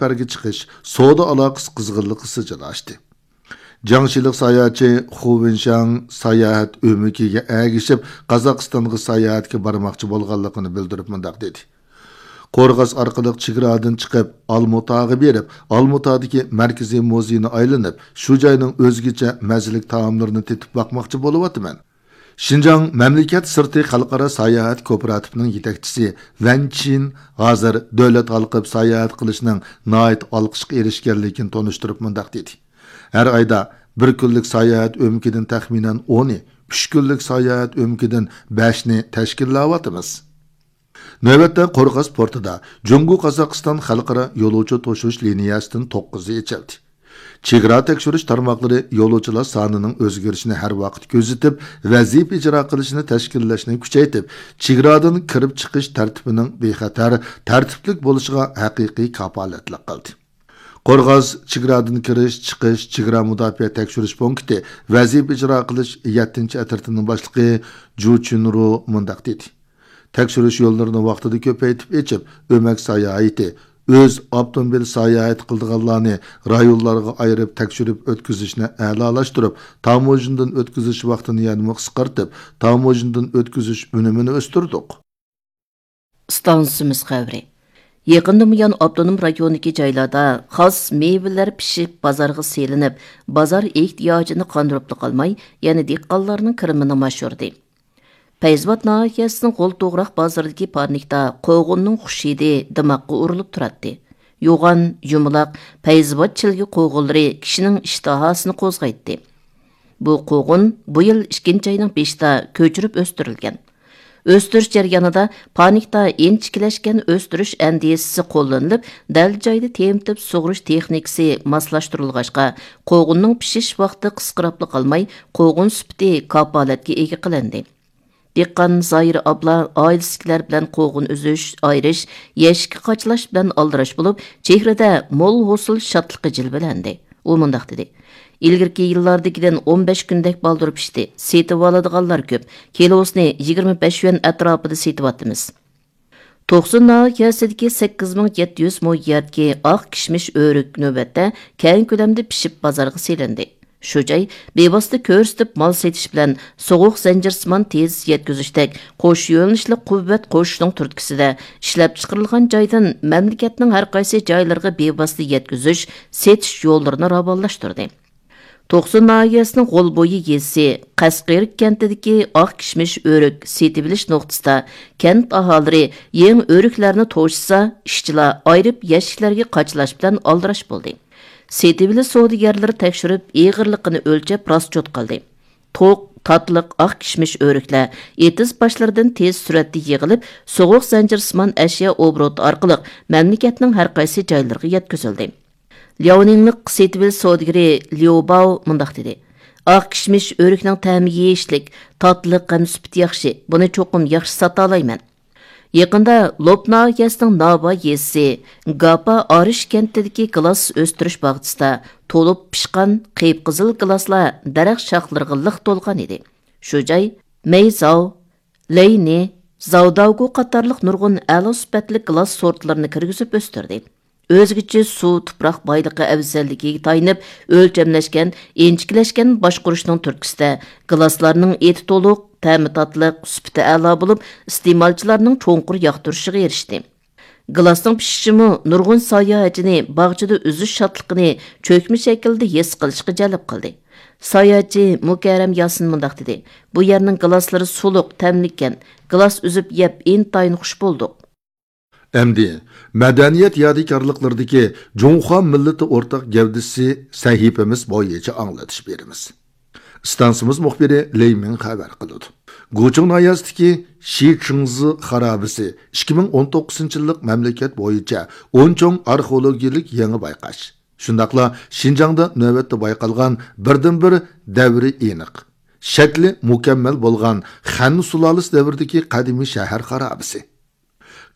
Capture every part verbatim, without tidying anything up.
سەپەرگە چىقىش، سودا ئالاقىسى قىزغىنلىقى سىجىل ئاشتى. جياڭشىلىق ساياھەتچى خۇ ۋېنشاڭ ساياھەت ئۆمىكىگە ئەگىشىپ، قازاقىستانغا ساياھەتكە بارماقچى بولغانلىقىنى بىلدۈرۈپ مۇنداق دېدى: قورغاس ئارقىلىق چېگرادىن چىقىپ، ئالمۇتاغا بېرىپ، ئالمۇتادىكى مەركىزىي مۇزېينى ئايلىنىپ، شۇ جاينىڭ ئۆزگىچە مەززىلىك تائاملىرىنى تېتىپ باقماقچى بولۇۋاتىمەن. شىنجاڭ مەملىكەت سىرتى خەلقئارا ساياھەت كوپىراتىپىنىڭ يېتەكچىسى ۋەن چىن ھازىر دۆلەت ھالقىپ ساياھەت قىلىشنىڭ ناھايىتى ئالقىشقا ئېرىشكەنلىكىنى تونۇشتۇرۇپ مۇنداق دېدى: ھەر ئايدا بىر كۈنلۈك ساياھەت ئۆمىكىدىن تەخمىنەن ئونى، ئۈچ كۈنلۈك ساياھەت ئۆمىكىدىن بەشنى تەشكىللەۋاتىمىز. نۆۋەتتە قورغاس پورتىدا جۇڭگو قازاقىستان خەلقئارا يولۇچى توشۇش لىنىيەسىدىن توققۇزى ئېچىلدى. چېگرا تەكشۈرۈش تارماقلىرى يولۇچىلار سانىنىڭ ئۆزگىرىشىنى ھەر ۋاقىت كۆزىتىپ، ۋەزىپە ئىجرا قىلىشنى تەشكىللەشنى كۈچەيتىپ، چېگرادىن كىرىپ چىقىش تەرتىپىنىڭ بىخەتەر، تەرتىپلىك بولۇشىغا ھەقىقىي كاپالەتلىك قىلدى. قورغاس چېگرادىن كىرىش، چىقىش، چېگرا مۇداپىئە تەكشۈرۈش پونكىتى ۋەزىپە ئىجرا قىلىش يەتتىنچى ئەترىتىنىڭ باشلىقى جۇ چۈنرۇ مۇنداق دېدى: تەكشۈرۈش يوللىرىنى ۋاقتىدا كۆپەيتىپ ئېچىپ، ئۆمەك ساياھىتى، ئۆز ئاپتوموبىل ساياھەت قىلىدىغانلارنى رايونلارغا ئايرىپ تەكشۈرۈپ ئۆتكۈزۈشنى ئەلالاشتۇرۇپ، تاموژنىدىن ئۆتكۈزۈش ۋاقتىنى يەنىمۇ قىسقارتىپ، تاموژنىدىن ئۆتكۈزۈش ئۈنۈمىنى ئۆستۈردۇق. ئىستانسىمىز خەۋىرى. يېقىندىن بۇيان ئاپتونوم رايوندىكى جايلاردا خاس مېۋىلەر پىشىپ بازارغا سېلىنىپ، بازار ئېھتىياجىنى قاندۇرۇپلا قالماي، يەنە دېھقانلارنىڭ كىرىمىنىمۇ ئاشۇردى. پەيزىۋات ناھىيەسىنىڭ غول توغراق بازىرىدىكى پارنىكتا قوغۇننىڭ خۇش ھىدى دىماققا ئۇرۇلۇپ تۇراتتى. يوغان، يۇمىلاق، پەيزىۋات چىلگە قوغۇنلىرى كىشىنىڭ ئىشتىھاسىنى قوزغايتتى. بۇ قوغۇن بۇ يىل ئىككىنچى ئاينىڭ بېشىدا كۆچۈرۈپ ئۆستۈرۈلگەن. ئۆستۈرۈش جەريانىدا پارنىكتا ئىنچىكىلەشكەن ئۆستۈرۈش ئەندىزىسى قوللىنىلىپ، دەل جايدا تېمىتىپ سۇغۇرۇش تېخنىكىسى ماسلاشتۇرۇلغاچقا، قوغۇننىڭ پىشىش ۋاقتى قىسقىراپلا قالماي، قوغۇن سۈپىتى كاپالەتكە ئىگە قىلىندى. دېھقان زاھىرە ئابلا ئائىلىسىدىكىلەر بىلەن قوغۇن ئۈزۈش، ئايرىش، يەشىككە قاچىلاش بىلەن ئالدىراش بولۇپ، چېھرىدە مول ھوسۇل شادلىقى جىلۋىلەندى. ئۇ مۇنداق دېدى: ئىلگىرىكى يىللاردىكىدىن ئون بەش كۈندەك بالدۇر پىشتى، سېتىۋالىدىغانلار كۆپ، كىلوسىنى يىگىرمە بەش يۈەن ئەتراپىدا سېتىۋاتىمىز. توقسۇن ناھىيەسىدىكى سەككىز مىڭ يەتتە يۈز مو يەردىكى ئاق كىشمىش ئۆرۈك نۆۋەتتە كەڭ كۆلەمدە پىشىپ بازارغا سېلىندى. شۇ جاي بىۋاسىتە كۆرسىتىپ مال سېتىش بىلەن سوغۇق زەنجىرسىمان تېز يەتكۈزۈشتەك قوش يۆنىلىشلىك قۇۋۋەت قوشۇشنىڭ تۈرتكىسىدە، ئىشلەپچىقىرىلغان جايدىن مەملىكەتنىڭ ھەر قايسى جايلىرىغا بىۋاسىتە يەتكۈزۈش، سېتىش يوللىرىنى راۋانلاشتۇردى. توقسۇن ناھىيەسىنىڭ غول بويى يېزىسى قەسقىرىك كەنتىدىكى ئاق كىشمىش ئۆرۈك سېتىۋېلىش نۇقتىسىدا كەنت ئاھالىلىرى يېڭى ئۆرۈكلەرنى توشۇسا، ئىشچىلار ئايرىپ يەشىكلەرگە قاچىلاش بىلەن ئالدىراش بولدى. سېتىۋېلىش سودىگەرلىرى تەكشۈرۈپ، ئېغىرلىقىنى ئۆلچەپ راسچوت قىلدى. توق، تاتلىق ئاق كىشمىش ئۆرۈكلەر ئېتىز باشلىرىدىن تېز سۈرئەتتە يىغىلىپ، سوغۇق زەنجىرسىمان ئەشيا ئوبوروتى ئارقىلىق مەملىكەتنىڭ ھەر قايسى جايلىرىغا يەتكۈزۈلدى. لياۋنىڭلىق سېتىۋېلىش سودىگىرى ليۇ باۋ مۇنداق دېدى: ئاق كىشمىش ئۆرۈكنىڭ تەمى يېيىشلىك، تاتلىق ھەم سۈپىتى ياخشى، بۇنى چوقۇم ياخشى ساتالايمەن. يېقىندا لوپ ناھىيەسىنىڭ ناۋا يېزىسى گاپا ئارىش كەنتىدىكى گىلاس ئۆستۈرۈش باغچىسىدا تولۇپ پىشقان قىپقىزىل گىلاسلار دەرەخ شاخلىرىغا لىق تولغان ئىدى. شۇ جاي مەيزاۋ، لەينى، زاۋداۋگۇ قاتارلىق نۇرغۇن ئەلا سۈپەتلىك گىلاس سورتلىرىنى كىرگۈزۈپ ئۆستۈردى. ئۆزگىچە سۇ، تۇپراق بايلىقى ئەۋزەللىكىگە تايىنىپ ئۆلچەملەشكەن، ئىنچىكىلەشكەن باشقۇرۇشنىڭ تۈرتكىسىدە، گىلاسلارنىڭ ئېتى تولۇق، تەمى تاتلىق، سۈپىتى ئەلا بولۇپ، ئىستېمالچىلارنىڭ چوڭقۇر ياقتۇرۇشىغا ئېرىشتى. گىلاسنىڭ پىشىشىمۇ نۇرغۇن ساياھەتچىنى باغچىدا ئۈزۈش شادلىقىنى چۆكمە شەكىلدە ھېس قىلىشقا جەلپ قىلدى. ساياھەتچى مۇكەررەم ياسىن مۇنداق دېدى: بۇ يەرنىڭ گىلاسلىرى سۇلۇق، تەملىككەن. گىلاس ئۈزۈپ يەپ ئىنتايىن خۇش بولدۇق. ئەمدى مەدەنىيەت يادىكارلىقلىرىدىكى جۇڭخۇا مىللىتى ئورتاق گەۋدىسى سەھىپىمىز بويىچە ئاڭلىتىش بېرىمىز. ئىستانسىمىز مۇخبىرى لېي مىڭ خەۋەر قىلىدۇ. گۇچۇڭ ناھىيەسىدىكى شى چىڭزى خارابىسى ئىككى مىڭ ئون توققۇزىنچى يىللىق مەملىكەت بويىچە ئون چوڭ ئارخېئولوگىيەلىك يېڭى بايقاش. شۇنداقلا شىنجاڭدا نۆۋەتتە بايقالغان بىردىنبىر دەۋرى ئېنىق، شەكلى مۇكەممەل بولغان خەن سۇلالىسى دەۋرىدىكى قەدىمىي شەھەر خارابىسى.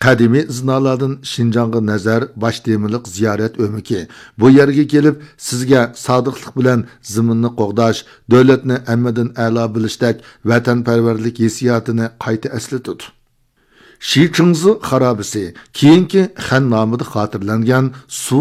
قەدىمىي ئىزنالاردىن شىنجاڭغا نەزەر باش تېمىلىق زىيارەت ئۆمىكى بۇ يەرگە كېلىپ، سىزگە سادىقلىق بىلەن زېمىننى قوغداش، دۆلەتنى ھەممىدىن ئەلا بىلىشتەك ۋەتەنپەرۋەرلىك ھېسسىياتىنى قايتا ئەسلىتىدۇ. شى چىڭزى خارابىسى كېيىنكى خەن نامىدا خاتىرىلەنگەن سۇ